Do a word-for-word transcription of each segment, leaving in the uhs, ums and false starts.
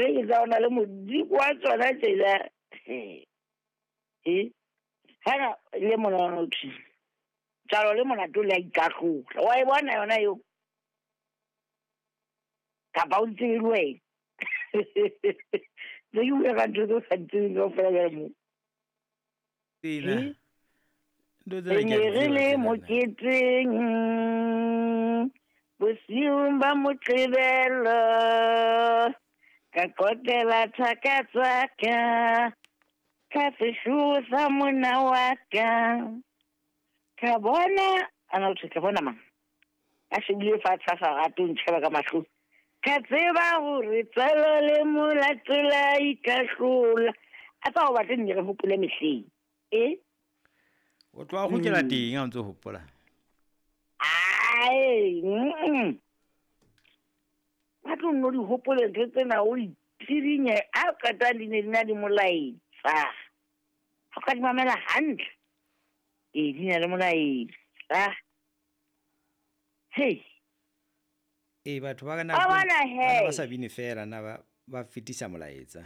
Ntho e ke tsa ona le modiko wa tsona tsela. E hana le mona thwi. Tsalo le molato le a ikahlola. Wa e bona yona eo? Kapa o ntse le wena. Tse ke bua ka ntho tse o sa di tsebeng kaofela jwale moo. Tsena. Ntho tsena Re ke a ne di re tseba le tsena nna. moketeng bosiung ba Moqebelo, ka qoqela thaka tsa ka, ka seshuo sa monna wa ka. Ka bona, ana o thwe ka bona mang? A shebile fatshe a sa rate ho ntjheba ka mahlong. Ka tseba hore tswalo le molato la ikahlola. A tsa ho batle nne re hopole mehleng. E? O tloha o kgutlela teng ha o ntso hopola. Ai, mm. Ba tlo nno di hopole ntho tsena o itirinye a qeta di ne di na le molaetsa. Ha o ka di mamela hantle. Ee, di na le molaetsa. Hei. Ee, batho ba kana Wa bona ba he. ba sa bine fela na ba ba fetisa molaetsa.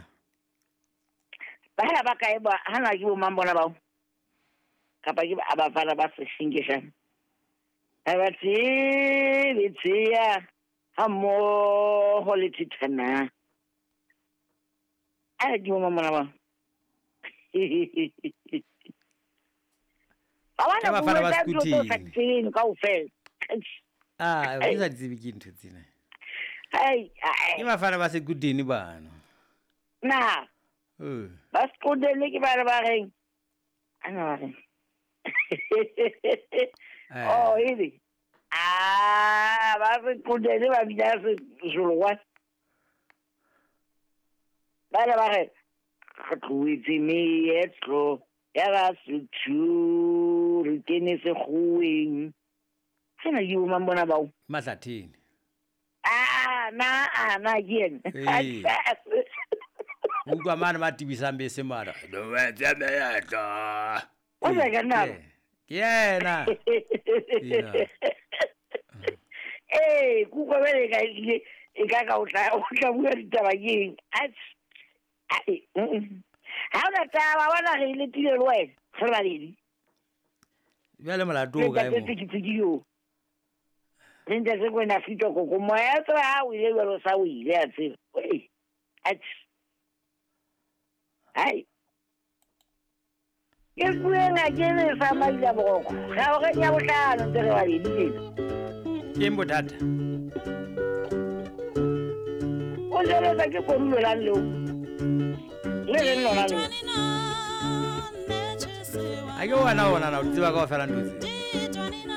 Bana ba kae ba hana ke bo mang bona bao? Kapa ke ba bafana ba seshinkeshana. Ha ba tsebe tseya ha mmoho le thithana. A ke bo mang bona bao? Ba Ke bona bafana ba bua ka ntho tse o sa Sekuthini. di tsebeng kaofela. Ah, ke sa di tsebe ke ntho tsena. Ai, ai. Ke bafana ba Sekuthini bano. Na, Eh. ba Sekuthini ke bana ba reng? Ana ba reng? Eh. Oh, ebe. Ah, ba Sekuthini ba bina Sezulu wa. Bana ba re re tlohetse meetlo ya Basotho re kene sekgoweng. Sena ke bo mang bona bao? Mahlathini. Ah, na, ah, na ke yena. Ee. Utlwa mane ba tibisang bese mara. Tlohetse meetlo. O sa ka nna. Ke yena. Ena. Ee, kutlwa bjale ka ebile e ka ka o tla o tla bua ditaba ke eng? Atjhe. Ai, mm. Ha ona taba, bona re e letile le wena, re le babedi. Jwale molato Le o kae ntate mo? Tsikitsiki eo. Le ntate Kwena Fito Koko, moya tseba ha o ile jwalo sa o ile a tseba. Oi, atjhe. Hai. Ke pueng a ke le sa maila boroko. Ga o re nya bohlano ntse re babedi tjena. Ke eng bothata? O jweletswa ke kodulo lang leo? Le reng lona leo? Ha ke wena ona na o di tseba kaofela ntho tse.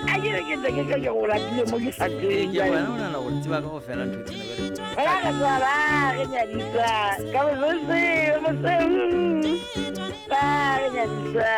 A ke re ke ntse ke ke go latile mo ke sa Ee, tsebeng ke jwale. wena ona na o di tseba kaofela ntho tsena jwale. Ra re tswa ba re nyadisa ka mosese moseu. Ba re nyadisa.